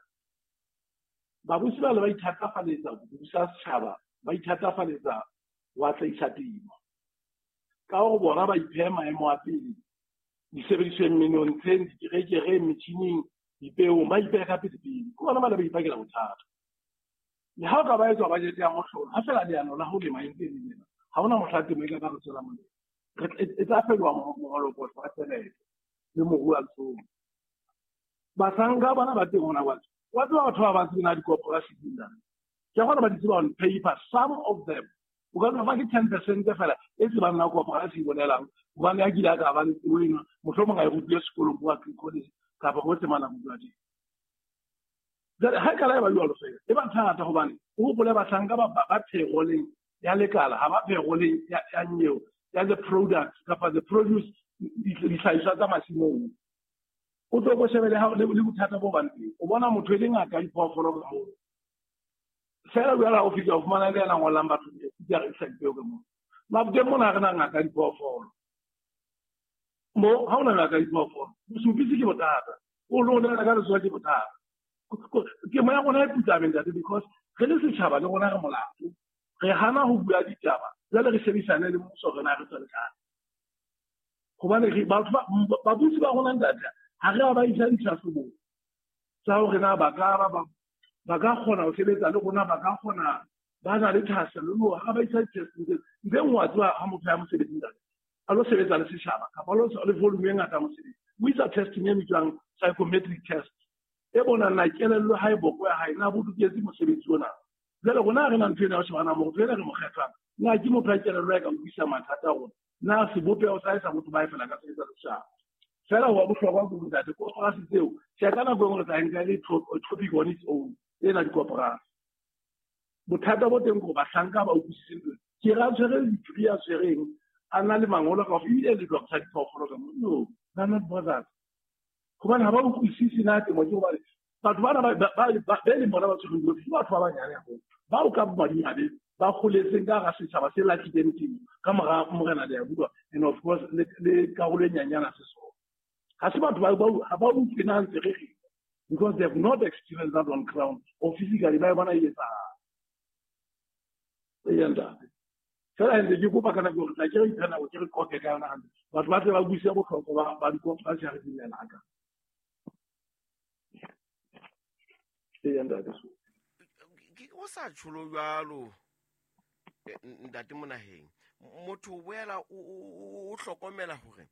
babusi ba le ba ithatafaletsa ho busa setjhaba, ba ithatafaletsa wa tlaisa temo ka hore bona ba iphe maemo a pele disebedisweng, menontsheng, dikerekereng, metjhining, dipeong, ba ipeha ka pele pele. Ke bona ba le ba ipakela bothata. Le ha o ka ba etswa budget ya mohlolo, ha fela leano la ho lema e ntse e le lena, ha hona mohla temo e ka ba re tswela molemo. E tla fetoha moholokotlo wa tjhelete le moruo wa letsoho. Bahlanka bana ba teng hona jwale, wa tseba batho ba ba tsena dikoporasi dina. Ke kgona ba di tseba on paper, some of them o ka nna fa ke ten percent fela e tsebang na koporasi e bolelang, hobane a kile a ka ba le tsebo ena, mohlomong a e rutile sekolong bo college kapa hohle mane a rutwa teng. Jwale ha e ka la e ba jwalo fela, e ba thata hobane o hopole bahlanka ba ba pheroleng ya lekala, ha ba pheroleng ya ya nyeo ya the product kapa the produce dihlahiswa tsa masimong. O tlo go shebele ha le bothata bo bang teng, o bona motho e le ngaka ya diphoofolo ka moo fela jwale ha o fihla o fumana le yena ngolang batho di a rekisa dipeo ka moo. Maboteng mona ha re na ngaka ya diphoofolo mo, ha hona ngaka ya diphoofolo bosupisi ke bothata, o lo nela ka letsoho ke bothata. Temo ya rona e putlame ntate, because Re le setjhaba le rona re molato. Re hana ho bua ditaba, jwale re shebisane le mmuso rena re tswele kae. Hobane re batho ba babusi ba rona ntate, ha re a ba isa ditlhahlobong tsa hore na ba ka ba ba ka kgona ho sebetsa le rona, ba ka kgona ba na le thahasello le hore ha ba isa di-testing tse ntle wa tseba ha motho ya mosebetsing ntate a lo sebetsa le setjhaba kapa lo le volume e ngata mosebetsi. O isa testing e bitswang psychometric test e bonang na kelello ha e boko ya hae na bo loketse mosebetsi ona. Jwale rona re na ntho ena ya ho shebana motho ena re mo kgethang na ke motho a kelello ya ka utlwisisa mathata a rona, na sebopeho sa hae sa botho ba e fela ka sebetsa le setjhaba. Fela ho bohlokwa ke ntate koporasi tseo tjhe ka nako e nngwe re tla nka le topic on its own ena dikoporasi. Bothata bo teng ke hore bahlanka ba utlwisise ntho. Ke ra tshwere degree ya tshwereng a na le mangolo ka ebile le doctor diphoofolo ka mo. No, they're not bothered. Hobane ha ba utlwisise na temo ke hobane batho bana ba ba ba leng bona ba tshwereng dilo ke batho ba banyane haholo bao ka bomadimabe ba holetseng ka hara setjhaba se lahlileng temo ka mora Morena Leabua and of course le karolo e nyanyana Sesotho. Ha se batho ba ha ba utlwe na ntse re re because they have not experienced that on ground or physically ba bona e etsahala. E ntate. Fela ntse ke kopa kana gore tla ke re ipha nako ke re qoqe ka yona hantle. Batho ba tle ba buise bohlokwa ba ba dikoporasi ha re dumela ka. E ntate. Ke o sa tsholo jwalo ntate Monaheng. Motho o boela o hlokomela hore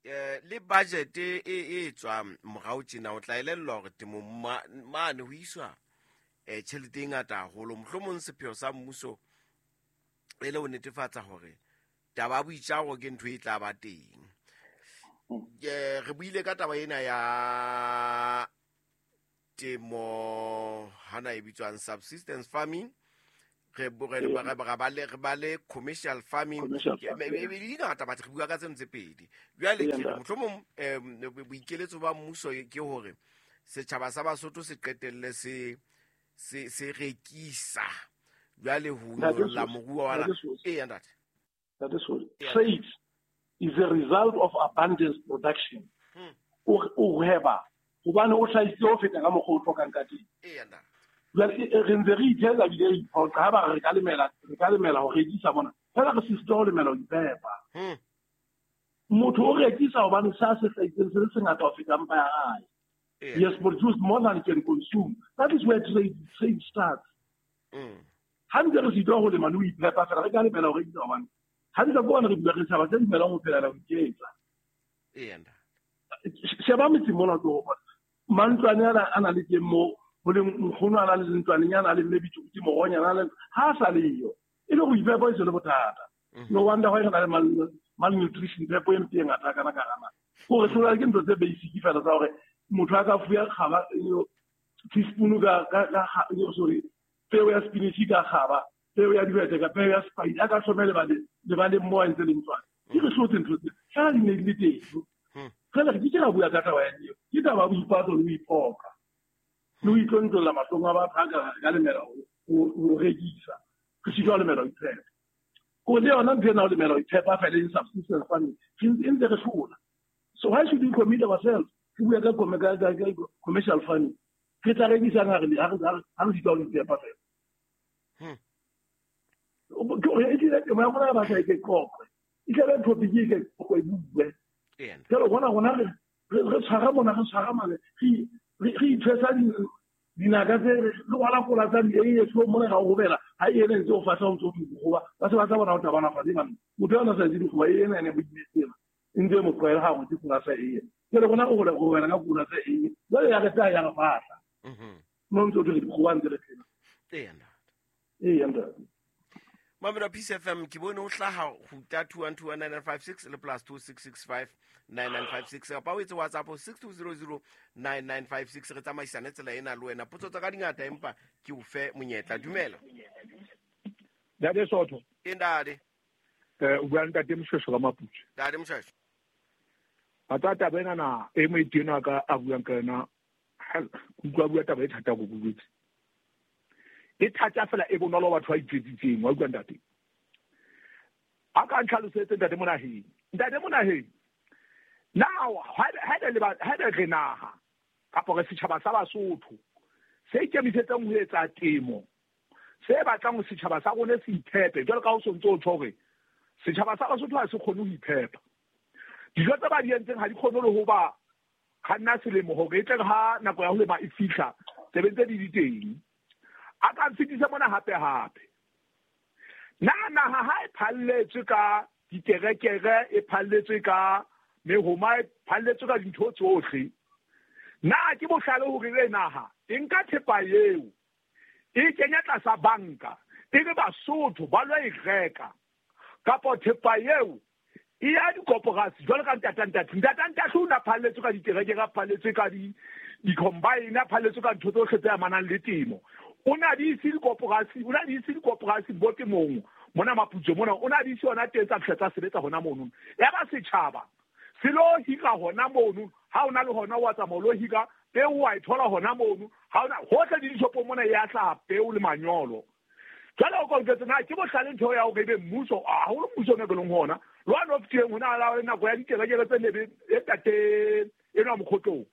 eh le budget e e tswa morao tjena o tla elellwa hore temo mane ho iswa eh tjhelete e ngata haholo. Mohlomong sepheo sa mmuso e le ho netefatsa hore taba ya boitjaro ke ntho e tla ba teng. Eh re buile ka taba ena ya temo hana e bitswang subsistence farming, re re ba le re ba le commercial farming e ngata batho re bua ka tseno tse pedi. Jwale ke mohlomong boikeletso ba mmuso ke hore setjhaba sa Basotho se qetelle se se se rekisa jwale ho nyolla moruo wa e ntate. That is what trade is a result of abundance production. O hweba hobane o hlahisitse ho feta ka mokgwa o hlokang ka teng. Jwale re ntse re ithetsa ebile re iphoqa ha ba re ka lemela re ka lemela ho rekisa mona fela re sisitwa ho lemela ho ipepa. Motho o rekisa hobane sa se hlahisitseng se le sengata ho feta mpa ya hae. He has produced more than he can consume. That is where trade, trade starts. Ha ntse re sitwa ho lema le ho iphepa fela re ka lemela ho rekisa hobane ha ntse go re bua re tshaba tse dumelang ho phela ho iketsa. Sheba metse mona tlo mantlwane ana a na le teng mo ho leng nkgono a na le ntlwanenyana a le mme bitso moronyana a le ha sa leyo e le go iphepa e se le bothata. No wonder why re na le malnutrition phepo e mpe e ngata kana ka gana gore hlola ke ntho tse basic fela tsa hore motho a ka fuya kgaba teaspoon ka ka sorry peo ya spinach ka kgaba peo ya dihwete ka peo ya spice a ka hlomele ba le le ba le mo ntse le ntlwane ke re hlotse ntho tse fela di ne di le teng. Fela re ke ra bua ka taba ya eo ke taba ya boipatlo le ho iphoqa le ho itlontlolla mahlong a batho a ka lemela ho rekisa re sitwa ho lemela ho iphepa. Ko le yona ntho ena ho lemela ho iphepa fela e subsistence farming e ntse re hlola. So why should we commit ourselves re bua ka commercial farming re tla rekisang ha re ha re sitwa ho iphepa fela. E tlile temo ya rona ya batla e ke qoqwe e tlabe topic e ke qoqwe e bue. Jalo rona rona re re tshwara mona re tshwara mane re re ithwesa dinaka tse re rwala kola tsa di-eiye so mona ga o gobela ha e ene ntse o fahla o ntse o dikgoba ba se ba tla bona o tabana fatshe bana motho yona sa itse dikgoba e ena ene bo imetsela e ntse e mo tlwaela ga go tse kola sa eiye. Jale rona o gobela ka kola tsa eiye jale ya re tla ya re fahla mo ntse o dire dikgoba ntse re phela. Ee ntate. Mamela Peace F M ke bone o hlaha ho two one two one nine nine five six le plus two six six five nine nine five six kapa o etse WhatsApp six two zero zero nine nine five six re tsamaisane tsela ena le wena. Potso tsa ka di ngata empa ke o fe monyetla. Dumela. Ntate Sotho. E ntate. Eh o bua ntate Moshweshwe ka Maputswe. Ntate Moshweshwe. Batho taba ena na e mo itena ka a buang ka yona ke utlwa bua taba e thata go bobetse. E thata fela e bonolo batho ba itjwetsitseng wa utlwa ntate. A ka ntlhalosetse ntate Monaheng. Ntate Monaheng. Now ha le ha le re naha kapa re setjhaba sa Basotho se ikemisetsang ho etsa temo, se batlang ho setjhaba sa rona se iphepe. Jwalo ka ha o sontso o tjho hore setjhaba sa Basotho ha se kgone ho iphepa. Dijo tse ba di entseng ha di kgone le ho ba kganna selemo hore e tle ha nako ya ho lema e fihla, tse be ntse di di teng. A ka mfetisa mona hape hape. Na naha ha e phalletswe ka diterekere, e phalletswe ka mehoma, e phalletswe ka dintho tsohle. Na ke bohlale hore le naha e nka thepa eo e kenya tlasa banka, e re Basotho ba lo e reka, kapa thepa eo e ya dikoporasi jwalo ka ntata ntate. Ntata ntate o na phalletswe ka diterekere, a phalletswe ka di di-combine, a phalletswe ka ntho tsohle tse amanang le temo. O na di ise dikoporasi, o na di ise dikoporasi bo temong mona Maputsoe mona, o na di ise hona teng tsa fihla tsa sebetsa hona mono. Ya ba setjhaba se lo hira hona mono, ha o na le hona wa tsamaya o lo hira peo, wa e thola hona mono, ha ona hohle di dishopong mona ya hlaha peo le manyolo. Jwale o ka nketse na ke bohlale ntho ya hore ebe mmuso, haholo mmuso o ne ke leng hona le one o fetileng hona la nako ya diterekere tse nebe e tate enwa Mokhotlong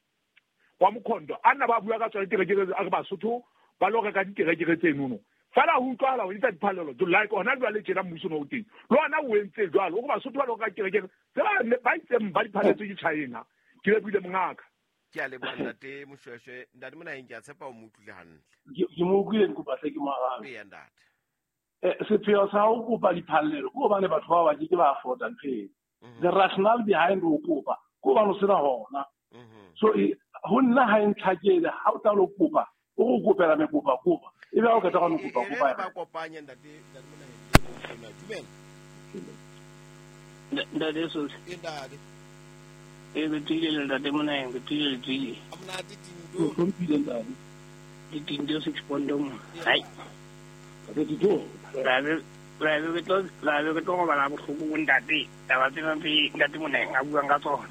wa Mokhondo, a nna ba bua ka tsona diterekere, a re Basotho ba lo reka diterekere tsenono. Fela ho utlwahala ho etsa diphallelo like hona jwale tjena mmuso no o teng le ona o entse jwalo, o re Basotho ba lo reka diterekere tse ba ba itseng ba di phalletswe ke China. Ke lebile mongaka. Ke a leboha ntate Moshweshwe. Ntate Monaheng, ke a tshepa o mo utlwile hantle. Ke mo utlwile, ke kopa hle ke mo arabe. Eya ntate. Eh, sepheo sa ho kopa diphallelo ke hobane batho ba ba ke ke ba afforda ntho eo. The rationale behind ho kopa ke hobane o sena hona. So ho nna ha e ntlhakele ha o tla lo kopa, o go kopela mekopa kopa, ebe ha o qeta go kopa kopa. Ba kopanye ntate ntate Monaheng. Dumela. Ntate Sotho. Ntate. E re tswile le ntate Monaheng, re tswile le tswile. Monate Tindo. Hlompile ntate. Di Tindo six point mo. Hai. Ntate Tindo. Ra be ra be ke tlo ra be ke tlo robala bohloko bo ntate. Taba tsena tse ntate Monaheng a buang ka tsona.